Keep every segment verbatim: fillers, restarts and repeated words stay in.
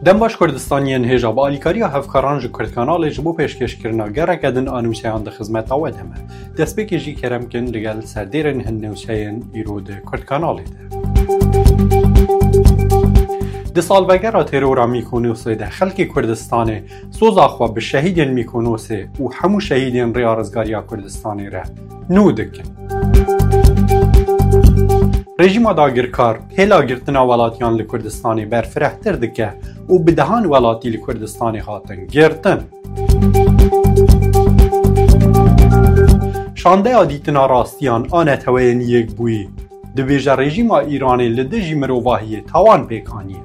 Dem baş Kurdistaniyên hêja, bi alîkariya hevkaran ji Kurdkanalê ji bo pêşkêşkirina gereke din a nûçeyan di xizmeta we de me. Destpêkê jî kerem kin digel serdêrên hin nûçeyên îro di Kurdkanalê de. Di salvegera terora Mîkonosê de xelkê Kurdistanê soza xwe bi şehîdên Mîkonosê û hemû şehîdên Rêya Rizgariya Kurdistanê re nû dikin. Rejîma dagirkar hêla girtina welatiyan li Kurdistanê berfirehtir dike û bi dehan welatî li Kurdistanê hatin girtin. Şandeya dîtina rastiyan a Neteweyên Yekbûyî dibêje, rejîma Îranê li dijî mirovahiyê tawan pêk aniye.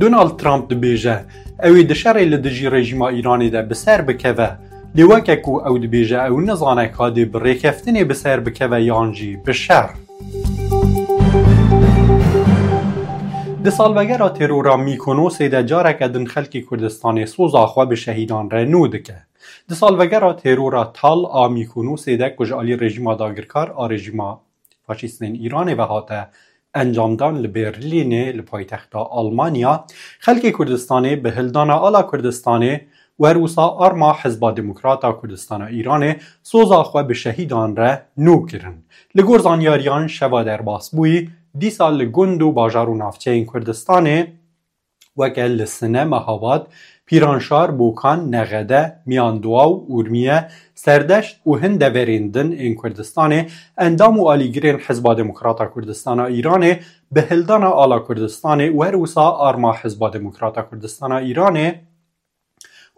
Donald Trump dibêje, ew ê di şerê li dijî rejîma Îranê de bi ser bikeve, lê weke ku ew dibêje, ew nizane ka dê bi rêkeftinê bi ser bikeve yan jî bi şer. Di salvegera terora Mîkonosê de careke din xelkê Kurdistanê soza xwe bi şehîdan re nû dike. Di salvegera terora tal a Mîkonosê de ku ji alî rejîma dagirkar a rejîma faşîstên Îranê ve hate encamdan li Berlînê, li paytexta Almanya, xelkê Kurdistanê bi hildana ala Kurdistanê û her wisa arma Hizba Demokrata Kurdistana Îranê soza xwe bi şehîdan re nû kirin. Li gor zanyariyan, şeva derbasbûyî dîsa li gund û bajar û navçeyên Kurdistanê, weke li Sine, Mehabad, Pîranşar, Bokan, Nexede, Miyanduwaw, Urmiye, Serdeşt û hin deverên din ên Kurdistanê, endam û alîgirên Hizba Demokrata Kurdistana Îranê bi hildana ala Kurdistanê û her wisa arma Hizba Demokrata Kurdistana Îranê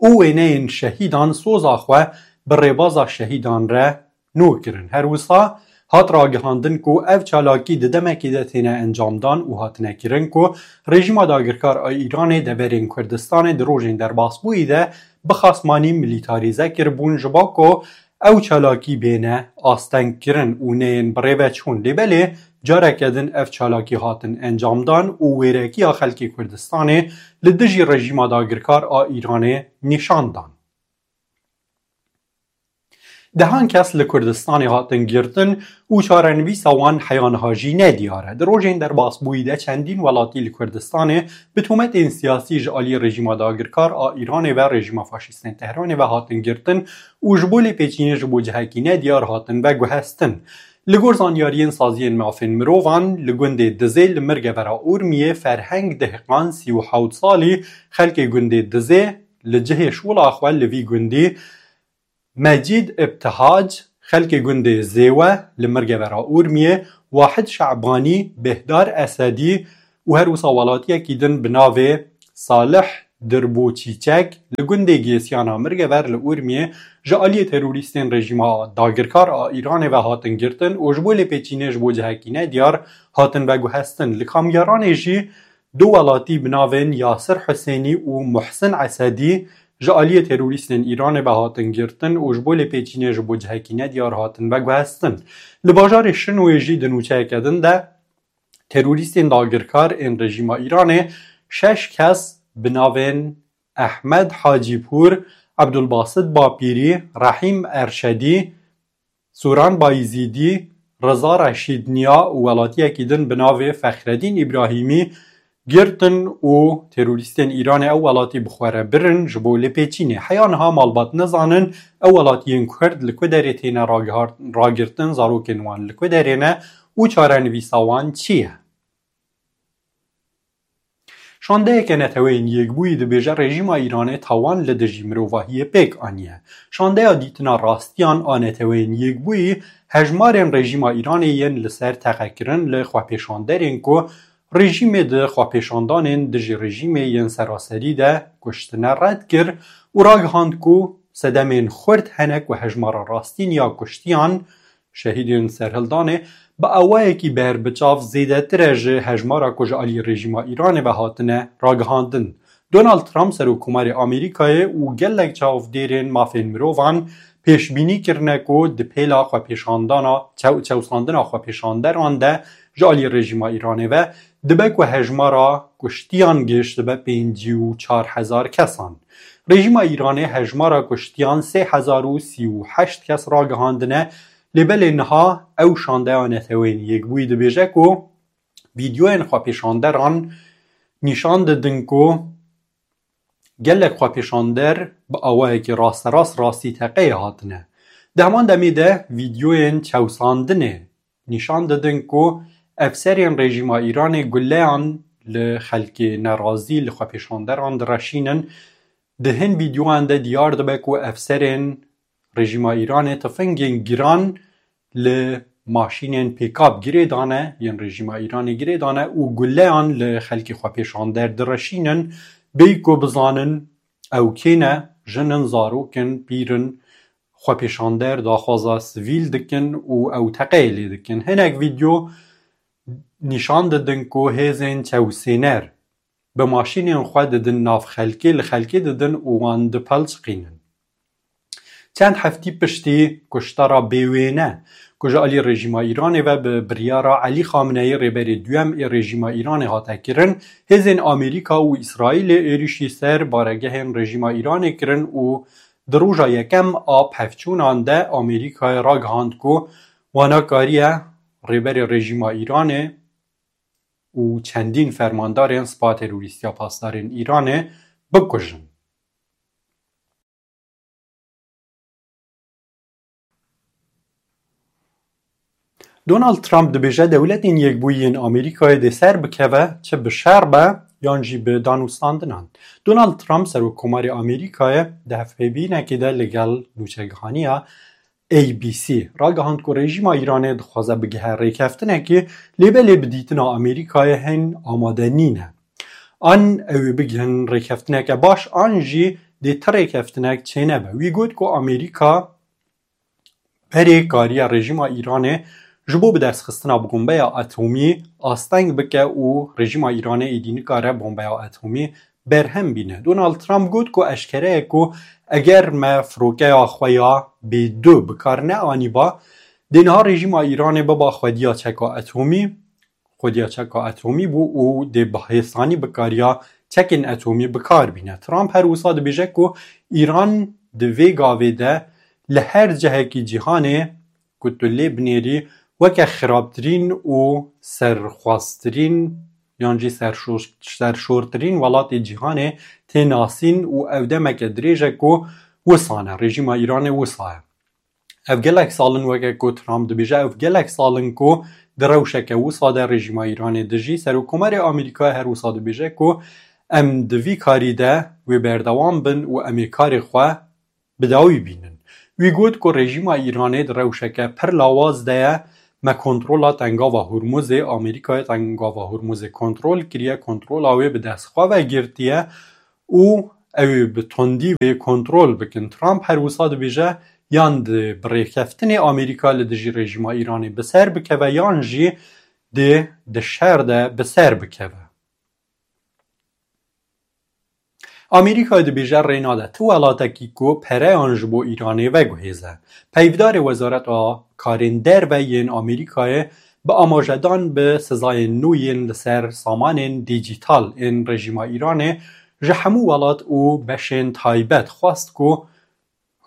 û wêneyên şehîdan soza xwe bi rêbaza şehîdan re nû kirin. Her wisa hat ragihandin ku ev çalakî di demekê de têne encamdan û hatine kirin ku rejîma dagirkar a Îranê deverên Kurdistanê di rojên derbasbûyî de bi xasmanî milîtarîze kiribûn, ji bo ku ew çalakî bêne astengkirin û neyên bi rê ve çûn. Lê belê careke din ev çalakî hatin encamdan û wêrekiya xelkê Kurdistanê li dijî rejîma dagirkar a Îranê nîşan dan. Dehan kes li Kurdistanê hatin girtin û çarenivîsa wan heya niha jî nediyar e. Di rojên derbasbûyî de çendîn welatî li Kurdistanê bi tometên siyasî ji alî rejîma dagirkar a Îranê ve, rejîma faşîstên Tehranê ve hatin girtin û ji bo lêpêçînê ji bo cihekî nediyar hatin veguhestin. Li gor zanyariyên saziyên mafên mirovan, li gundê Dizê li mirgevera Urmiyê Ferheng Dehqan, sî û hewt salî, xelkê gundê Dizê, li cihê şola xwe li vî gundî Mecîd Îbtihac, xelkê gundê Zêwe li mirgevera Urmiyê, Wahid Şe'banî, Bêhdar Esedî û her wisa welatiyekî din bi navê Salih Dirbû Çîçek li gundê Gêsiyana Mirgever li Urmiyê ji aliyê terorîstên rejîma dagirkar a Îranê ve hatin girtin û ji bo lêpêçînê ji bo cihekî nediyar hatin veguhestin. Li Kamyaranê jî du welatî bi navên Yasir Husênî û Muhsin Esedî ji aliyê terorîstên Îranê ve hatin girtin û ji bo lêpêçînê ji bo cihekî nediyar hatin veguhestin. Li bajarê Şinoyê jî di nûçeyeke din de terorîstên dagirkar ên rejîma Îranê şeş kes bi navên Ehmed Hacîpûr, Ebdulbasit Bapîrî, Rehîm Erşedî, Sûran Bayizîdî, Riza Reşîd Niya û welatiyekî din bi navê Fexredîn Îbrahîmî girtin û terorîstên Îranê ew welatî bi xwe re birin ji bo lêpêçînê. Heya niha malbat nizanin ew welatiyên Kurd li ku derê têne ragihar-, ragirtin, zarokên wan li ku derê ne û çarenivîsa wan çi ye. Şandeyeke Neteweyên Yekbûyî dibêje, rejîma Îranê tawan li dijî mirovahiyê pêk aniye. Şandeya dîtina rastiyan a Neteweyên Yekbûyî hejmarên rejîma Îranê yên li ser teqekirin li xwepêşanderên ku rejîmê di xwepêşandanên dijî rejîmê yên seraserî de kuştine red kir û ragihand ku sedemên xurt hene ku hejmara rastîn ya kuştiyan, şehîdên serhildanê, bi awayekî berbiçav zêdetir e ji hejmara ku ji alî rejîma Îranê ve hatine ragihandin. Donald Trump, Serokkomarê Amerîkayê û gelek çavdêrên mafên mirovan pêşbînî kirine ku di pêla xwepêşandana, çew-, çewsandina xwepêşanderan de ji alî rejîma Îranê ve dibe ku hejmara kuştiyan gihiştibe pêncî û çar hezar kesan. Rejîma Îranê hejmara kuştiyan sê hezar û sî û heşt kes ragihandine, lê belê niha ew şandeya Neteweyên Yekbûyî dibêje ku Vîdyoyên xwepêşanderan nîşan didin ku gelek xwepêşander bi awayekî rasterast rastî teqeyê hatine. Di heman demê de vîdyoyên çewsandinê nîşan didin ku efserên rejîma Îranê guleyan li xelkê nerazî, li xwepêşanderan direşînin. Di hin vîdyoyan de diyar dibe ku efserên rejîma Îranê tifingên giran li maşînên pêkap girê dane, yên rejîma Îranê girê dane û guleyan li xelkê xwepêşander direşînin, bêyî ku bizanin ew kê ne, jin in, zarok in, pîr in, xwepêşander daxwaza sivîl dikin û ew teqeyê lê dikin. Hinek vîdyo nîşan didin ku hêzên çewsêner bi maşînên xwe didin nav xelkê, li xelkê didin û wan dipelçiqînin. Çend heftî piştî kuştara bêwêne ku ji alî rejîma Îranê ve bi biryara Elî Xameneî, rêberê duyem ê rejîma Îranê hate kirin, hêzên Amerîka û Îsraîlê êrîşî ser baregehên rejîma Îranê kirin û di roja yekem a pevçûnan de Amerîkayê ragihand ku wana kariye rêberê rejîma Îranê û çendîn fermandarên spa terorîst ya pasdarên Îranê bikujin. Donald Trump dibêje, Dewletên Yekbûyî yên Amerîkayê dê ser bikeve, çi bi şer be yan jî bi danûstandinan. Donald Trump, Serokkomarê Amerîkayê, di hevpeyvînekê de li gel nûçegihaniya A B C ragihand ku rejîma Îranê dixwaze bigihe rêkeftinekê, lê belê bi dîtina Amerîkayê hin amade nîne. An ew ê bigihin rêkeftineke baş, an jî dê ti rêkeftinek çênebe. Wî got ku Amerîka berê kariye rejîma Îranê ji bo bidestxistina bombeya atomî asteng bike û rejîma Îranê êdî nikare bombeya atomî berhem bîne. Donald Trump got ku eşkere ye ku eger me firokeya xwe ya B du bi kar neanîba, dê niha rejîma Îranê biba xwediya çeka atomî, xwediya çeka atomî bû û dê bi hêsanî bikariya çekên atomî bi kar bîne. Trump her wisa dibêje ku Îran di vê gavê de li her cihekî cîhanê ku tu lê binêrî weke xirabtirîn û serxwaztirîn yan jî serşor-, serşortirîn welatê cîhanê tê nasîn û ev demeke dirêj e ku wisa ne, rejîma Îranê wisa ye. Ev gelek sal in, weke ku Trump dibêje, ev gelek sal in ku di rewşeke wisa de rejîma Îranê dijî. Serokkomarê Amerîkayê her wisa dibêje ku em di vî karî de wê berdewam bin û em ê karê xwe bi dawî bînin. Wî got ku rejîma Îranê di rewşeke pir lawaz de ye, me kontrola Tengava Hurmuzê, Amerîkayê Tengava Hurmuzê kontrol kiriye, kontrola wê bi dest xwe ve girtiye û ew ê bi tundî wê kontrol bikin. Trump her wisa dibêje, yan di bi rêkeftinê Amerîka li dijî rejîma Îranê bi ser bikeve, yan jî dê di şer de bi ser bikeve. Amerîka dibêje rê nade ti welatekî ku pereyan ji bo Îranê veguhêze. Peyvdarê Wezareta Karên Derve yên Amerîkayê bi amajedan bi sizayên nû yên li ser samanên dîjîtal ên rejîma Îranê ji hemû welat û beşên taybet xwest ku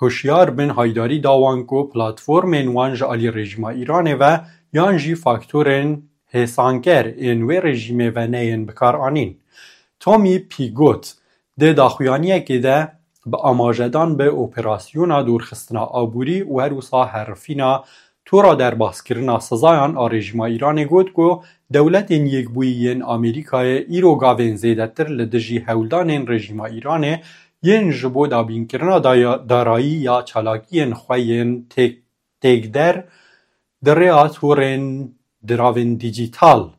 hişyar bin, haydarî da wan ku platformên wan ji alî rejîma Îranê ve yan jî faktorên hêsanker ên wê rejîmê ve neyên bikaranîn. Tomî Pîgot di daxuyaniyekê de bi amajedan bi operasyona dûrxistina aborî û her wisa herifîna tora derbaskirina sizayan a rejîma Îranê got ku Dewletên Yekbûyî yên Amerîkayê îro gavên zêdetir li dijî hewldanên rejîma Îranê yên ji bo dabînkirina daya-, darayî ya çalakiyên xwe yên têk-, têkder di rêya torên diravên dîjîtal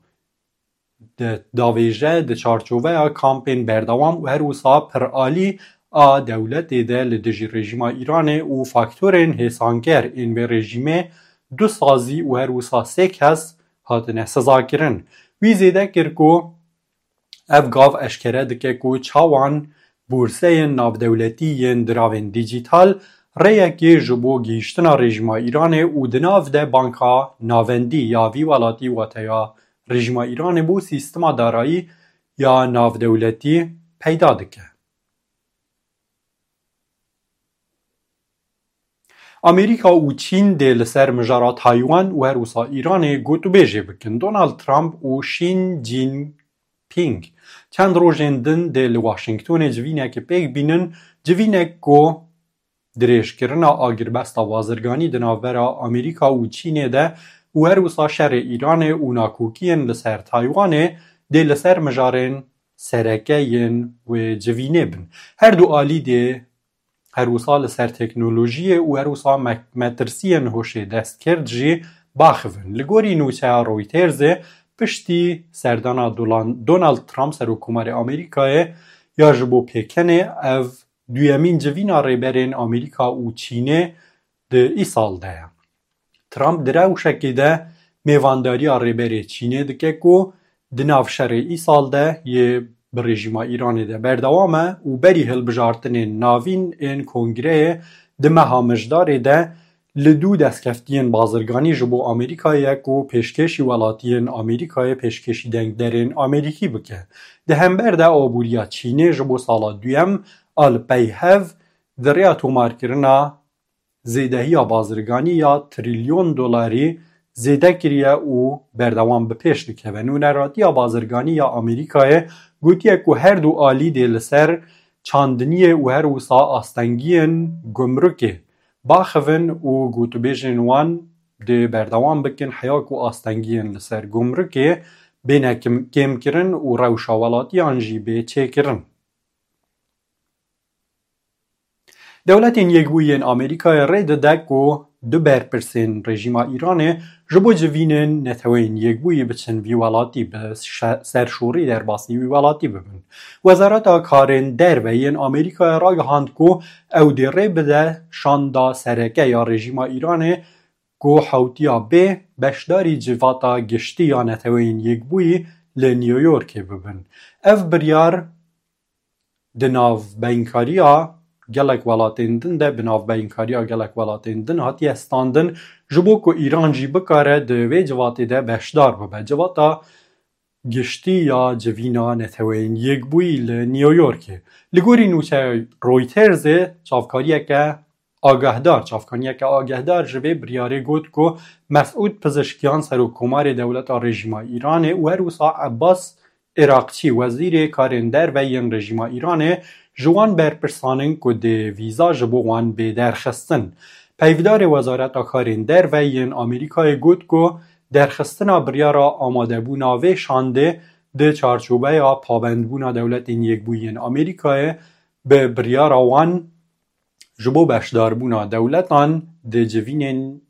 de davêje di çarçoveya kampên berdewam û her wisa piralî a dewletê de li dijî rejîma Îranê û faktorên hêsanker ên vê rejîmê du sazî û her wisa sê kes hatine sizakirin. Wî zêde kir ku ev gav eşkere dike ku çawan bûrseyên navdewletî yên diravên dîjîtal rêyekê ji bo gihîştina rejîma Îranê û di nav de Banka Navendî ya vî welatî, wateya rejîma Îranê bo sîstema darayî ya navdewletî peyda dike. Amerîka û Çîn dê li ser mijara Taywan û her wisa Îranê gotûbêjê bikin. Donald Trump û Xi Jinping çend rojên din dê li Washingtonê civînekê pêk bînin, civînek ku dirêjkirina agirbesta bazirganî di navbera Amerîka û Çînê de û her wisa şerê Îranê û nakokiyên li ser Taywanê dê li ser mijarên sereke yên wê civînê bin. Her du alî dê her wisa li ser teknolojiyê û her wisa me-, metirsiyên hoşê destkirt jî baxivin. Li gorî nûçeya Reutersê, piştî serdana Dolan-, Donald Trump serokkomarê Amerîkayê ya ji bo pêkenê, ev duyemîn civîna rêberên Amerîka û Çînê di îsal de ye. Trump di rewşekê de mêvandariya rêberê Çînê dike ku di nav şerê îsal de yê bi rejîma Îranê de berdewam e û berî hilbijartinên navîn ên kongreyê di meha Mijdarê de li dû destkeftiyên bazirganî ji bo Amerîkayê ye ku pêşkêşî welatiyên Amerîkayê pêşkêşî dengderên Amerîkî bike. Di hember de aboriya Çînê ji bo sala duyem a li pey hev di rêya tomarkirina zêdehiya bazirganî ya trilyon dolarî zêde kiriye û berdewam bi pêş dikeve. Nûneratiya bazirganî ya Amerîkayê gotiye ku her du alî dê li ser çandiniyê û her wisa astengiyên gumrukê baxivin û gotûbêjên wan dê berdewam bikin, heya ku astengiyên li ser gumrukê bêne kim-, kêmkirin û rewşa welatiyan jî bê çêkirin. Dewletên Yekbûyî yên Amerîkayê rê dide ku du berpirsên rejîma Îranê ji bo civînên Neteweyên Yekbûyî biçin vî welatî, bi şe-, serşorî derbasî wî welatî bibin. Wezareta Karên Derve yên Amerîkayê ragihand ku ew dê rê bide şanda sereke ya rejîma Îranê ku hewtiya bê beşdarî civata giştî ya Neteweyên Yekbûyî li New Yorkê bibin. Ev biryar di navbeynkariya gelek welatên din de, bi navbeynkariya gelek welatên din hatiye standin, ji bo ku Îran jî bikare di vê civatê de beşdar bibe. Civata giştî ya civîna Neteweyên Yekbûyî li New Yorkê. Li gorî nûçeya Reutersê, çavkariyeke agahdar, çavkaniyeke agahdar ji vê biryarê got ku Mesûd Pizişkiyan, serokkomarê dewleta rejîma Îranê û her wisa Ebbas Iraqçî, wezîrê karên derve yên rejîma Îranê, ji wan berpirsan in ku dê vîza ji bo wan bê derxistin. Peyvdarê Wezareta Karên Derve yên Amerîkayê got ku derxistina biryara amadebûna vê şandê di çarçobeya pabendbûna Dewletên Yekbûyî yên Amerîkayê bi biryara wan ji bo beşdarbûna dewletan di civînên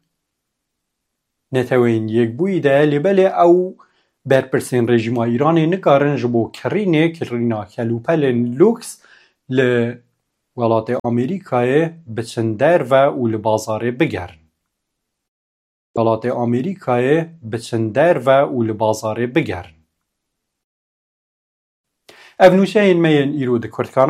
Neteweyên Yekbûyî de ye, lê belê ew berpirsên rejîma Îranê nikarin ji bo kirînê, kirîna kelûpelên lûks li welatê Amerîkayê biçin derve û li bazarê bigerin. Welatê Amerîkayê biçin derve û li bazarê bigerin. Ev nûçeyên me yên îro di Kurdkana